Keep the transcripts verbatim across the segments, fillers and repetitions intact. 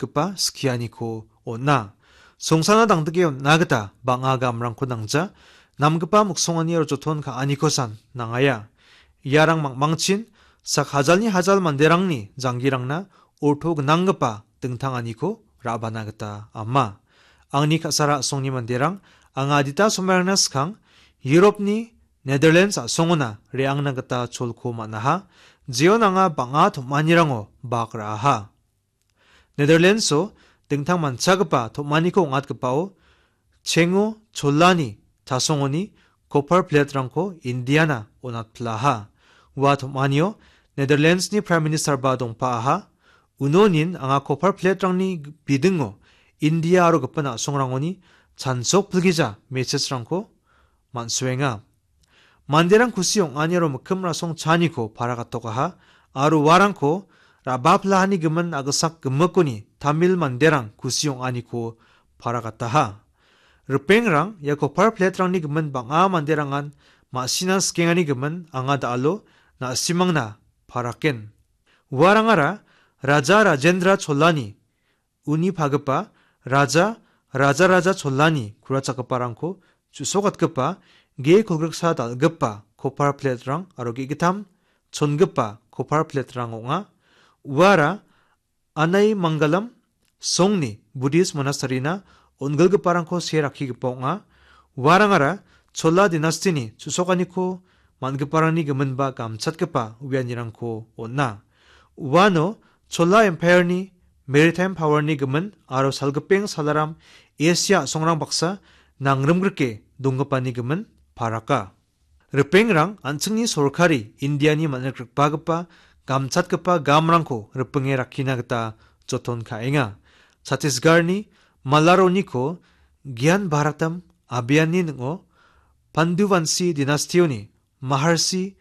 gnanggipa skianiko on·a. Songsana dangdike on·na gita bang·a gamrangko nangja, namgipa miksongani aro joton ka·anikosan nangaia. Iarang mangmangchin sak hajalni hajal manderangni janggirangna orto gnanggipa dingtanganiko ra·bana gita ama. Angni ka·sara a·songni manderang, anga adita somairangna skang Europni Netherlands a·songona re·angna gita cholko man·aha, jeon anga bang·a tom·anirango bak ra·aha. Netherlands-o dingtang manchagipa tom·aniko ong·atgipao chengo cholani chasongoni copper plate-rangko Indiana on·atpilaha. Ua tom·anio Netherlands-ni Prime Minister-ba dongpaaha. Unonin anga copper plate-rangni bidingo India aro gipin a·songrangoni chansok pilgija message-rangko man·soenga. Manderang kusi ong·ani aro mikkim rasong chaaniko para gatokaha, aro uarangko ra·baplahani gimin a·gisak gimikoni Tamil manderang kusi ong·aniko para gataha. Ripengrang ia copper plate-rangni gimin bang·a manderangan ma·sina skengani gimin anga da·alo na·simangna paraken. Uarangara Raja Rajendra Cholani uni pagipa Raja, Raja Raja Cholani kurachakgiparangko chu·sokatgipa ge kolgriksa dal·gipa copper plate-rang aro ge·gittam chongipa copper plate-rang ong·a. Uara Anai Mangalam songni Buddhist monastery-na on·gilgiparangko see rakkigipa ong·a. Uarangara Chola dinastini chu·sokaniko man·giparangni giminba gamchatgipa uianirangko on·a. Uano Chola Empire-ni maritime power-ni gimin aro salgipeng salaram Asia a·songrang baksa nangrimgrike donggipani gimin paraka. Ripengrang an·chingni sorkari Indiani man·rikrikbagipa gamchatgipa gamrangko ripinge rakkina gita joton ka·enga. Chhattisgarhni Malaroniko Gyan Bharatam Abhiyanni ning·o Panduvanshi dinastioni Maharshi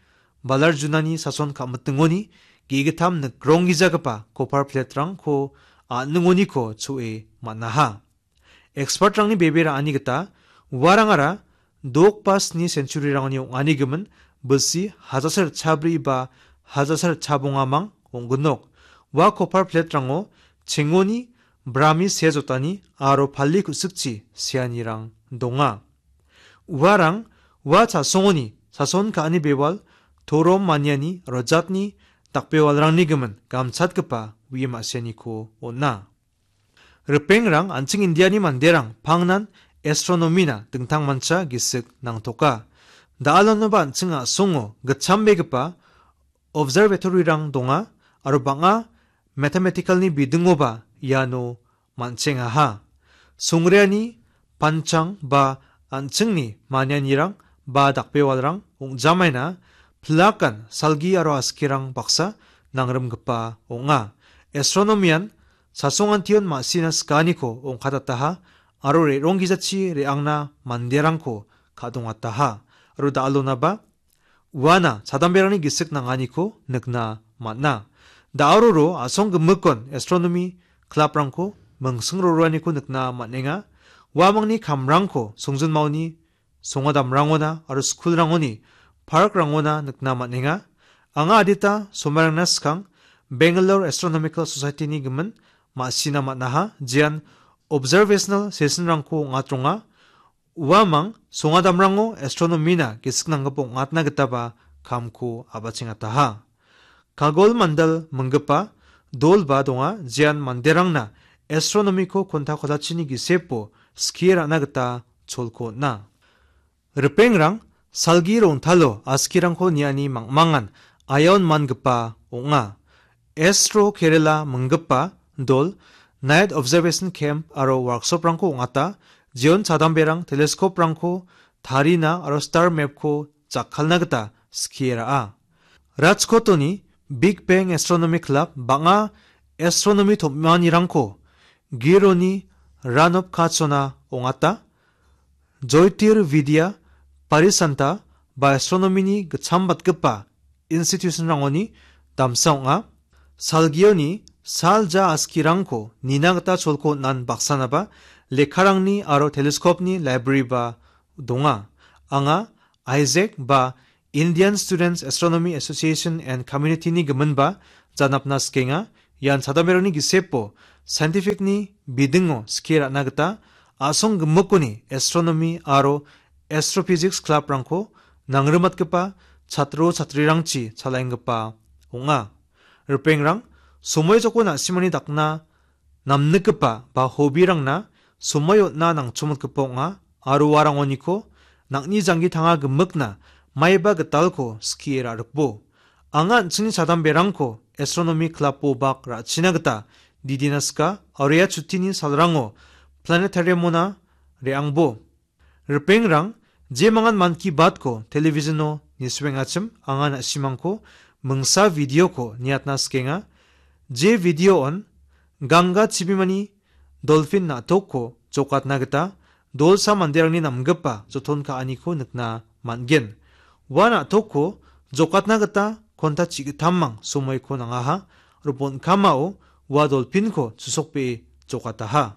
Balarjunani sason ka·mitingoni ge·gittam nikronggijagipa copper plate-rangko a·ningoniko cho·e man·aha. Expert-rangni bebe ra·ani gita uarangara dok ba sni century-rangni ong·ani gimin bilsi hajasar chabri ba hajasar chabongamang ong·ginok. Ua copper plate-rango chengoni brami sea jotani aro pali ku·sikchi seanirang donga. Uarang ua chasongoni sason ka·ani bewal, torom maniani aro jatni dakbewalrangni gimin gamchatgipa uie ma·sianiko on·a. Ripengrang an·ching Indiani manderang pangnan astronomy-na dingtangmancha gisik nangtoka. Da·alonoba an·ching a·songo gitchambegipa observatory-rang donga aro bang·a mathematical-ni bidingoba iano man·chengaha. Songreani panchang ba an·chingni manianirang ba dakbewalrang ong·jamaina pilakan salgi aro askirang baksa nangrimgipa ong·a. Astronomy-an chasongantion ma·sina sikaniko ongkatataha aro re·ronggijachi re·angna manderangko ka·dongataha. Aro da·alonaba uana chadamberangni gisik nanganiko nikna man·a. Da·aroro a·song gimikon astronomy club-rangko mingsing roroaniko nikna man·enga. Uamangni kamrangko songjinmaoni songadamrangona aro skulrangoni parkrangona nikna man·enga. Anga adita somairangna skang Bangalore Astronomical Society-ni gimin ma·sina man·aha, jean observational session-rangko ong·atronga. Uamang songadamrango astronomy-na gisik nanggipa ong·atna gitaba kamko a·bachengataha. Kagol Mandal minggipa dolba donga, jean manderangna astronomy-ko konta kotachini gisepo skie ra·na gita cholko on·a. Ripengrang salgi rongtalo askirangko niani mangmangan aiaon mangipa ong·a. Astro Kerala minggipa dol Night Observation Camp aro workshop-rangko ong·ata, jeon chadamberang telescope-rangko tarina aro star map-ko jakkalna gita skie ra·a. Rajkotoni Big Bang Astronomy Club bang·a astronomy tom·anirangko Gironi Ranop Kachona ong·ata. Joitir Vidya Parisanta ba astronomy-ni gitchambatgipa institution-rangoni damsa ong·a. Salgioni salja askirangko nina gita cholko on·an baksanaba lekkarangni aro telescope-ni library-ba donga. Anga Isaac ba Indian Students Astronomy Association and Community-ni giminba janapna sikenga. Ian chadamberangni gisepo scientific-ni bidingo skie ra·na gita a·song gimikoni astronomy aro astrophysics club-rangko nangrimatgipa chatro chatrirangchi chalaenggipa ong·a. Ripengrang, somoi joko na·simani dakna namnikgipa ba hobby-rangna somoi on·na nangchomotgipa ong·a aro uarangoniko nang·ni janggi tanga gimikna maiba gitalko skie ra·rikbo. Anga an·chingni chadamberangko astronomy club-o bak ra·china gita didina sika aro ia chutini salrango planetarium-ona re·angbo. Ripengrang, je mangan Mann Ki Baat-ko television-o nisuengachim anga na·simangko mingsa video-ko niatna sikenga. Je video-on Ganga chibimani dolphin na·tokko jokatna gita dolsa manderangni namgipa joton ka·aniko nikna man·gen. Ua na·tokko jokatna gita konta chi·gittammang somoiko nangaha, aro bon·kamao ua dolphin-ko chusokbee jokataha.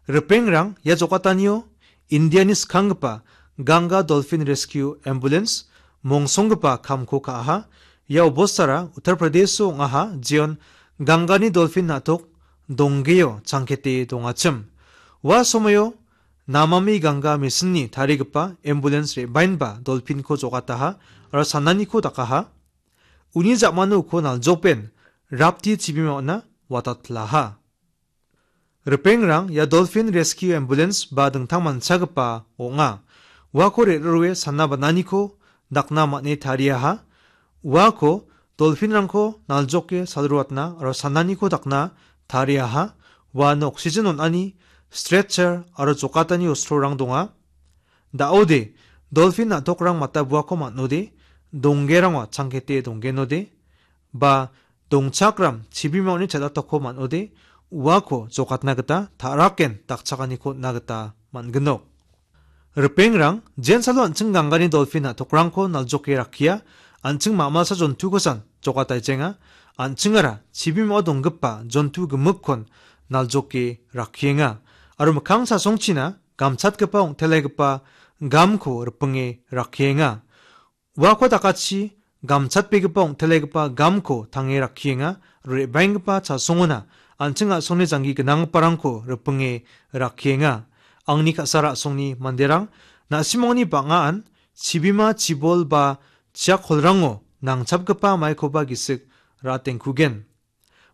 Ripengrang, ia jokatanio Indiani skanggipa Ganga Dolphin Rescue Ambulance mongsonggipa kamko ka·aha. Ia obostara Uttar Pradesh-o ong·aha, jeon Gangani dolphin na·tok donggeo changkete dongachim. Ua somoio Namami Ganga machine-ni tarigipa ambulance re·baenba dolphin-ko jokataha aro sananiko dakaha. Uni ja·mano uko naljokben Rapti chibima on·a watatpilaha. Ripengrang, ia Dolphin Rescue Ambulance ba dingtang manchagipa ong·a. Uako re·rue sana bananiko dakna man·e tariaha. Uako dolphin-rangko naljoke salruatna aro sananiko dakna tariaha. Uano oxygen on·ani, stretcher aro jokatani ostrorang donga. Da·ode, dolphin na·tokrang matabuako man·ode, donggerangwa changkete donggenode, ba dongchakram chibimaoni chel·atokko man·ode, uako jokatna gita ta·raken dakchakaniko on·na gita man·ginok. Ripengrang, jensalo an·ching Gangani dolphin na·tokrangko naljoke rakkia, an·ching ma·malsa jontukosan jokataijenga, an·chingara chibimao donggipa jontu gimikkon naljoke rakkienga, aro mikkang chasongchina gamchatgipa ong·telegipa gamko ripinge rakkienga. Uako dakachi gamchatbegipa ong·telegipa gamko tange rakkienga, re·baenggipa chasongona an·ching a·songni janggi gnanggiparangko ripinge rakkienga. Angni ka·sara a·songni manderang, na·simangni bang·aan chibima, chibol ba chiakolrango nangchapgipa maikoba gisik ra·atengkugen.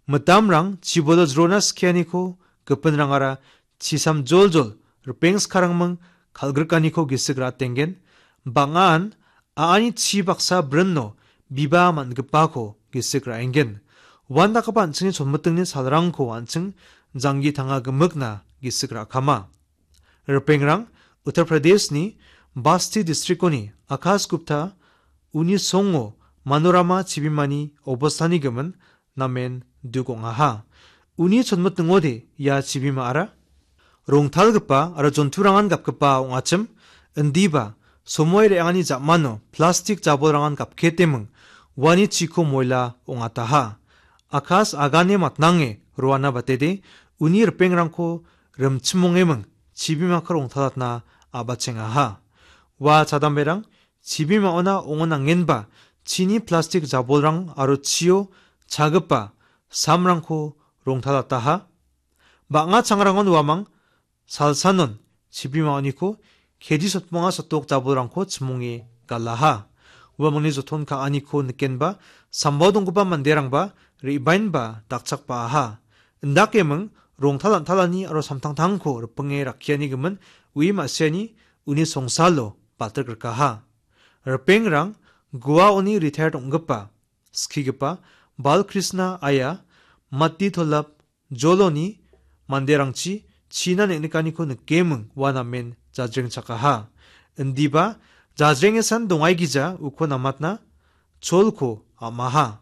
Mitamrang chibolo jrona skianiko gipinrangara chisam joljol ripeng skarangming kal·grikaniko gisik ra·atenggen. Bang·aan a·ani chi baksa brinno biba man·gipako gisik ra·enggen. Uandakgipa an·chingni chonmitingni salrangko an·ching janggi tanga gimikna gisik ra·kama. Ripengrang, Uttar Pradeshni Basti districtoni Akash Gupta uni songo Manorama chibimani obostani gimin namen duk ong·aha. Uni chonmitingode ia chibimaara rongtalgipa aro jonturangan gapgipa ong·achim, indiba somoi re·angani ja·mano plastik jabolrangan gapketeming uani chiko moila ong·ataha. Akash agane matnange roana batede uni ripengrangko rimchimongeming chibimako rongtalatna a·bachengaha. Ua chadamberang chibimaona ong·onangenba chini plastik jabolrang aro chio chagipa samrangko rongtalataha. Bang·a changrangon uamang salsanon chibimaoniko keji sotmonga sotok jabolrangko chimonge galaha. Uamangni joton ka·aniko nikenba sambao donggipa manderangba re·baenba dakchakbaaha. Indakeming rongtal an·talani aro samtangtangko ripinge rakkiani gimin ui ma·siani uni songsalo baltik rikaha. Ripengrang Goaoni retired ong·gipa, skigipa Balkrishna Aya, Matti Tolap Joloni manderangchi china neng·nikaniko nikeming ua namen jajrengchakaha. Indiba jajrengesan dongaigija uko namatna cholko am·aha.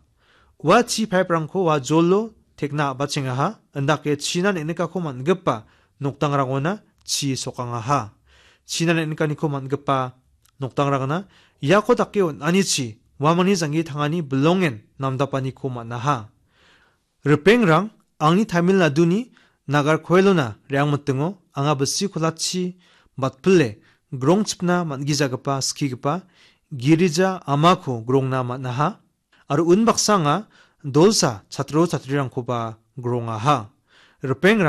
Ua chi paiprangko ua jolo tekna a·bachengaha, indake china neng·nikako man·gipa nokdangrangona chi sokangaha. China neng·nikaniko man·gipa nokdangrangna iako dake on·anichi uamangni janggi tangani bilongen namdapaniko man·aha. Ripengrang, angni Tamil Naduni Nagarkoilona re·angmitingo anga bisi kolachi batpile grongchipna man·gijagipa skigipa girija amako grongna man·aha. Aro unbaksa anga dolsa chatro chatrirangkoba grongaha. Ripeng